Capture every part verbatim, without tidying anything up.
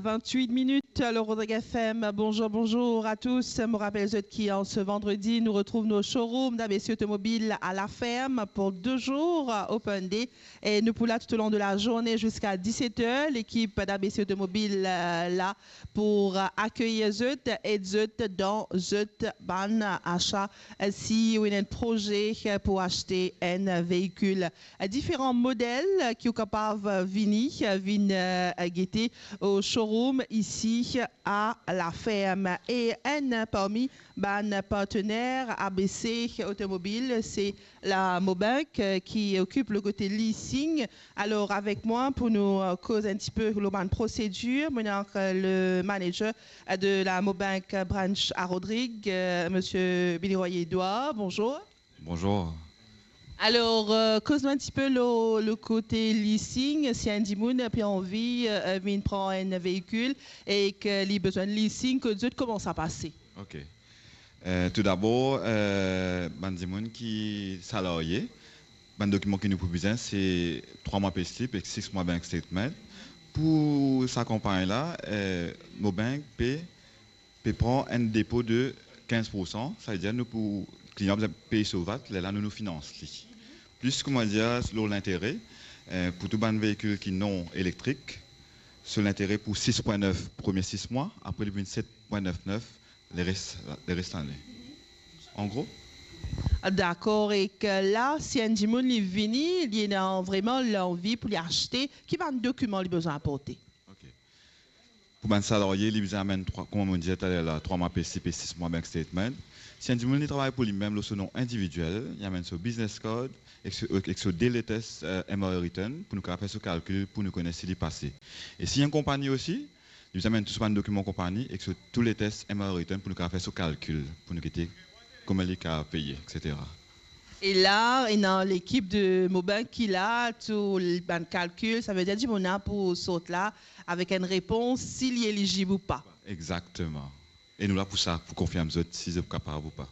Vingt-huit minutes, alors Rodrigue F M, bonjour, bonjour à tous. Mo rapel zot ki an se vandredi, nou retrouv nou showroom d'A B C Automobile à La Ferme pour deux jours, euh, Open Day. E nou pou la tout au long de la journée jusqu'à dix-sept heures. L'équipe d'A B C Automobile, euh, la pour, euh, accueillir zot, ed zot dan zot bann achat. Euh, si ou ena enn proze, euh, pou aste enn veikil, euh, diferan model, euh, ki ou kapav, euh, vini, euh, vinn, euh, gete au showroom isi à La Ferme. E enn parmi bann partener A B C Automobile, se la Mobank, euh, ki okip le kote leasing. Alors, avek mwa pou nou, euh, koz enn tipe lor bann prosedir, mo ena, euh, le manager, euh, de la Mobank Branch à Rodrigues, euh, monsieur Billy Royer Edouard. Bonjour. Bonjour. Alors, euh, koz nou enn tipe lor, lor kote leasing, si enn dimoun pe anvi, euh, vinn pran enn veikil e ki li bizin leasing, kot zot, kouma sa pase? Ok. Euh, tou dabor, euh, bann dimoun ki salarie, bann dokiman ki nou pou bizin, se trwa mwa pay slip ek sis mwa bank statement. Pou sa kanpagn la, euh, Mobank pe, pe pran enn depo de kinz pour san, savedir nou pou, klian bizin pey so vat, lerla nou, nou finans li. Plis, kouma dir, lor lintere, euh, pou tou bann veikil ki non elektrik, so lintere pou sis pwin nef premie sis mwa, apre li vinn set pwin nef nef leres, leres lane. An gro. Dakor, ek la, si enn dimoun li vini, li ena vreman lanvi pou li aste, ki bann dokiman li bizin aporte? Ok. Pou bann salarie, li bizin amenn trwa, kouma mo dir taler la, trwa mwa pay slip e sis mwa bank statement. Si enn dimoun li travay pou limem lor so non individiel, li amenn so business card ek so, ek so de latest, euh, M R A return pou nou kapav fer so kalkil, pou nou kone si li pase. E si enn konpagni osi, li bizin amenn tou so bann dokiman konpagni ek so tou latest M R A return pou nou kapav fer so kalkil, pou nou gete kouma li kapav peye, et cetera. E la, ena lekip de Mobank ki la, tou bann kalkil, savedir dimoun la pou sort la avek enn repons, si li elizib ou pa. Exakteman. E nou la pou sa, pou konfirm zot si zot kapav ou pa.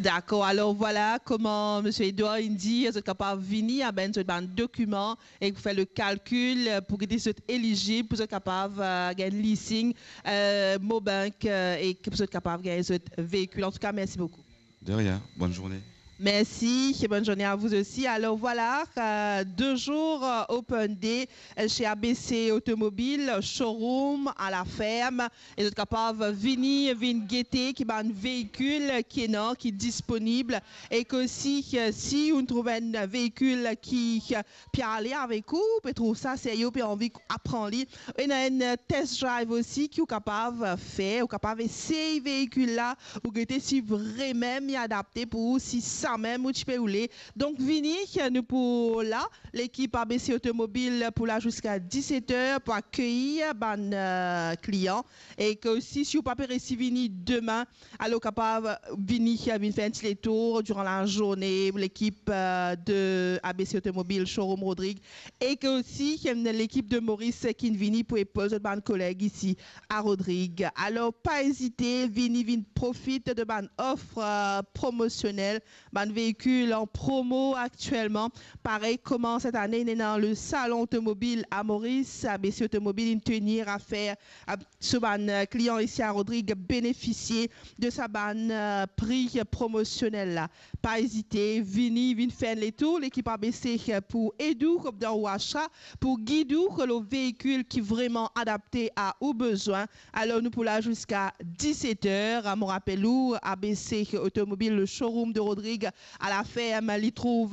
Dakor, alor vwala kouma misie Edouard inn dir, zot kapav vini, amenn zot bann dokiman e pou fer le kalkil, pou gete si zot elizib, pou zot kapav, euh, gagn leasing, euh, Mobank, euh, e pou zot kapav gagn zot veikil. Antouka, mersi boukou. De rien, bonne journée. Merci et bonne journée à vous aussi. Alors voilà, euh, deux jours, euh, Open Day, euh, chez A B C Automobile, showroom à La Ferme. E zot kapav vini, vinn gete ki bann veikil ki ena, ki disponib. E ke si, euh, si ou trouv enn veikil ki, euh, pe ale avek ou, pe trouv sa serye, pe anvi aprann li. Ena enn test drive osi ki ou kapav fer, ou kapav esey veikil la, ou gete si vremem li adapte pou ou, si samem ou ti pe oule. Donk vini, nou pou la, lekip A B C Automobile pou la ziska diset er pou akeyir bann, euh, klian. E ke osi, si ou pa pe resi vini demin, alor kapav vini, vinn fer enn ti letour diran lazourne, lekip, euh, de A B C Automobile Showroom Rodrigues, e ke osi, ena lekip de Moris ki'nn vini pou epoz zot bann koleg isi a Rodrigues. Alor, pa ezite, vini, vinn profit de bann ofer, euh, promosionel, bann veikil an promo aktielman. Parey kouma set ane, ena le salon otomobil a Moris, A B C Automobile inn tenir a fer, euh, so bann, euh, klian isi a Rodrigues benefisie de sa bann, euh, pri promosionel la. Pa ezite, vini, vinn fer enn letour, lekip A B C, euh, pou ed ou dan ou asa, pou gid ou lor veikil ki vreman adapte a ou bezwin. Alor nou pou la ziska diset er. Mo rapel ou, A B C Automobile, le showroom de Rodrigues à La Ferme, li trouv